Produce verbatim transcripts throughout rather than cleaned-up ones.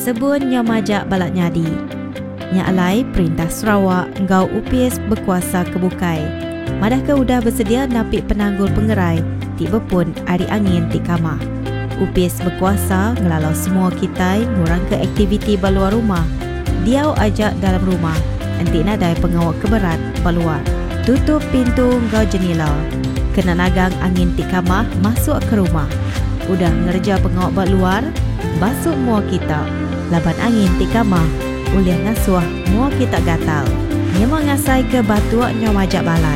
Sebun nyau majak balat nyadi. Nya alai perintah Sarawak enggau opis bekuasa ke bukai madahka udah besedia napi penanggul pengerai ti bepun ari angin ti kamah. Opis bekuasa ngelalau semua kitai ngurangka aktiviti ba luar rumah, diau aja dalam rumah enti nadai pengawa ke berat ba luar. Tutup pintu enggau jenila kena nagang angin ti kamah masuk ke rumah. Udah ngereja pengawa ba luar, basu mua kita laban angin ti kamah ulih ngasuh mua kita gatal. Nyema ngasaika batuk nyau majak balat,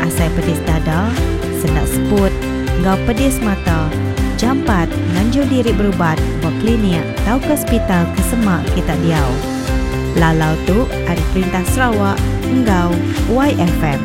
asai pedis dada, sendak seput enggau pedis mata, jampat nganjung diri berubat ba klinik tauka sepital ke semak kita diau. Lalau tu ari Perintah Sarawak enggau Y F M.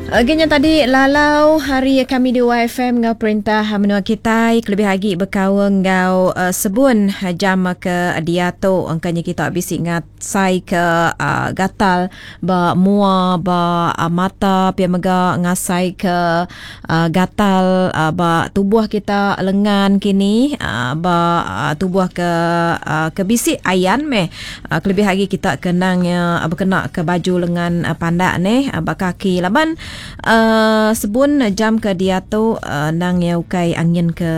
Okey, nya tadi lalau hari kami di Y F M ngau perintah menua kita lebih lagi berkaul ngau uh, sebun jam ke diatu, angkanya kita bisi ngasai ke uh, gatal ba mua, ba uh, mata, pia mega ngasai ke uh, gatal uh, ba tubuh kita, lengan kini, uh, ba uh, tubuh ke uh, ke bisi ayan meh, uh, kelebih lagi kita kenang uh, berkena ke baju lengan uh, pandak ni, uh, ba kaki, laban uh, sebun jam ke diatu uh, nang ya ukai angin ke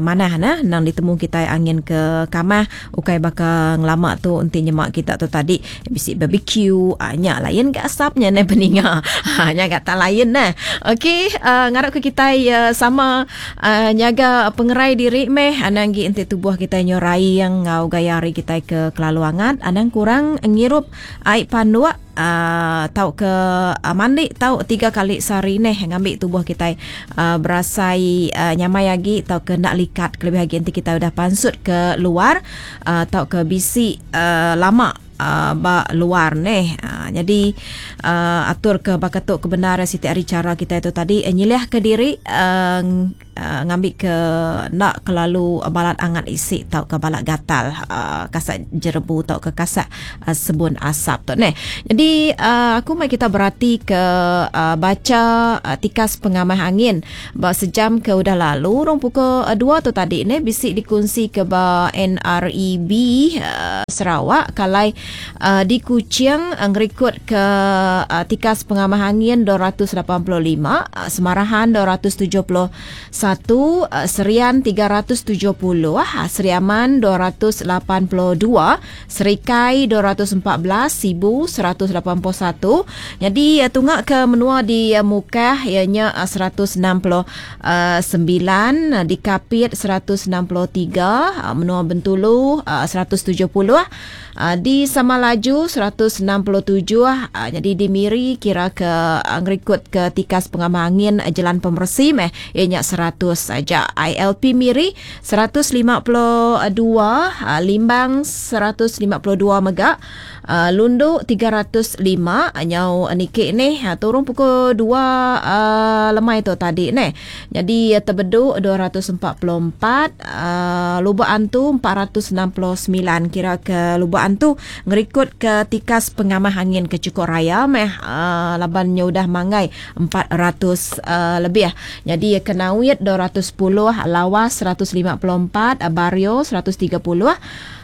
manah nah, nang ditemu kita angin ke kamah, ukai baka ngelama tu enti nyemak kita tu tadi bisi barbecue, uh, nya lain ke asapnya ne peninga, ha nya kata lain nah. Okey, uh, ngarap ke kita uh, sama uh, nyaga pengerai diri meh, anang gi enti tubuh kita nyorai yang ngau gaya hari kita ke kelalu angat, anang kurang ngirup ai panduk uh, tau ke uh, mandi tau tiga kali sehari neh, ngambil tubuh kita uh, berasai uh, nyamai lagi tau ke nak likat, kelebih lagi nanti kita udah pansut ke luar uh, tau ke bisi uh, lama uh, ba luar neh. Uh, jadi uh, atur ke bakatuk kebenaran siti hari cara kita itu tadi uh, nyiliah ke diri uh, uh, ngambil ke nak kelalu balat angat isi tau ke balat gatal uh, kasak jerebu tau ke kasak uh, sebun asap tu neh. Jadi uh, aku mai kita berarti ke uh, baca uh, tikas pengamah angin ba sejam ke udah lalu rong pukul uh, dua tu tadi ne, bisi dikunsi ke ba N R E B uh, Sarawak, kalai uh, di Kuching uh, ngerikut ke uh, tikas pengamah angin dua ratus lapan puluh lima, uh, Semarahan dua ratus tujuh puluh satu, uh, Serian tiga ratus tujuh puluh, uh, Sri Aman dua ratus lapan puluh dua, Serikai dua ratus empat belas, Sibu seratus lapan puluh satu. Jadi uh, tunggak ke menua di uh, Mukah ianya uh, seratus enam puluh sembilan, uh, di Kapit seratus enam puluh tiga, uh, menua Bentulu uh, seratus tujuh puluh, uh, di Samalaju seratus enam puluh tujuh, uh, jadi di Miri kira ke uh, ngerikut ke tikas pengamah angin uh, jalan pemersi meh ianya seratus saja. I L P Miri seratus lima puluh dua, uh, Limbang seratus lima puluh dua mega, uh, Lundu tiga ratus lima, nyau nikik ni uh, turun pukul dua uh, lemai tu tadi ni. Jadi uh, Tebedu dua ratus empat puluh empat, uh, Lubuk Antu empat ratus enam puluh sembilan, kira ke Lubuk Antu ngerikut ke tikas pengamah angin ke cukup raya meh, uh, laban nya udah manggai empat ratus uh, lebih. Jadi Kenawit dua ratus sepuluh, Lawas seratus lima puluh empat, Bario seratus tiga puluh,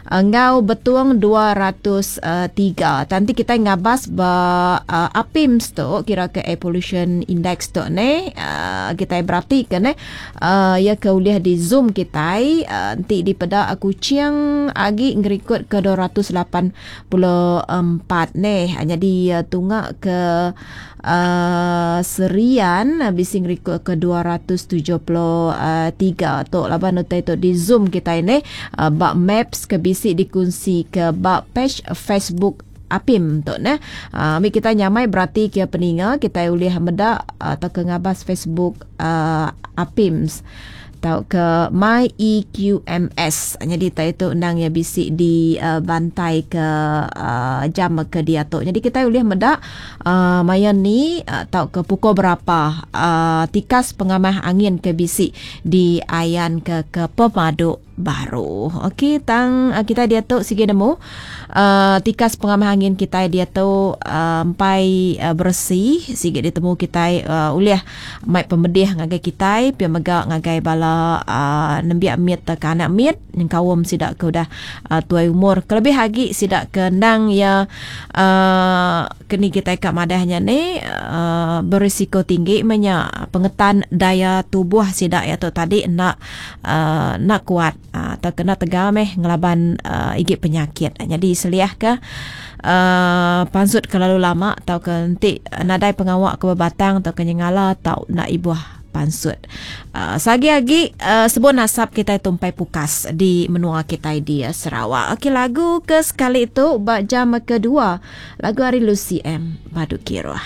enggau Betung dua ratus tiga. Nanti kita ngabas ba uh, APIMS tu, kira ke Air Pollution Index tu ne, uh, kita berarti ke ne, uh, ya ke ulih di Zoom kita, uh, nanti di peda Kuching agi ngerikut ke dua ratus lapan puluh empat ne. Jadi uh, tunggak ke uh, Serian uh, bisi ngerikut ke dua ratus tujuh puluh tiga tu, laban utai tu di Zoom kita ini, uh, bak maps ke bisi dikunsi ke bak page Facebook APIM tu ne. Uh, ambil kita nyamai berarti kia peninga kita boleh medak atau ke ngabas Facebook uh, APIMS atau ke My E Q M S. Jadi tak itu undang yang bisi di uh, bantai ke uh, jam ke dia tu. Jadi kita boleh medak uh, maya ni atau uh, ke pukul berapa uh, tikas pengamah angin ke bisi di ayan ke ke pemadu baru. Okey, tang uh, kita dia tu sigi nemu uh, tikas pengamah angin kita dia tu uh, empai uh, bersih sigi ditemu kita, uh, ulih mai pemedih. Kelebih ngagai kitai pia mega ngagai bala uh, nembiak mit ke anak mit nyengkaum sida ke udah uh, tuai umur kelebih agi sida ke endang ya uh, keni kitai ka madahnya ni uh, berisiko tinggi menya pengetan daya tubuh sida ya tu tadi nak uh, nak kuat uh, atau kena tegal meh ngelaban uh, igi penyakit. Jadi seliah ke uh, pansut kelalu lama atau ke nanti nadai pengawak ke berbatang atau ke nyengala atau nak ibuah pansut. Uh, sagi-agi uh, sebut nasab kita tumpai pukas di menua kita di uh, Sarawak. Okey, lagu ke sekali itu bak jam kedua, lagu hari Lucy M Badu Kiruh.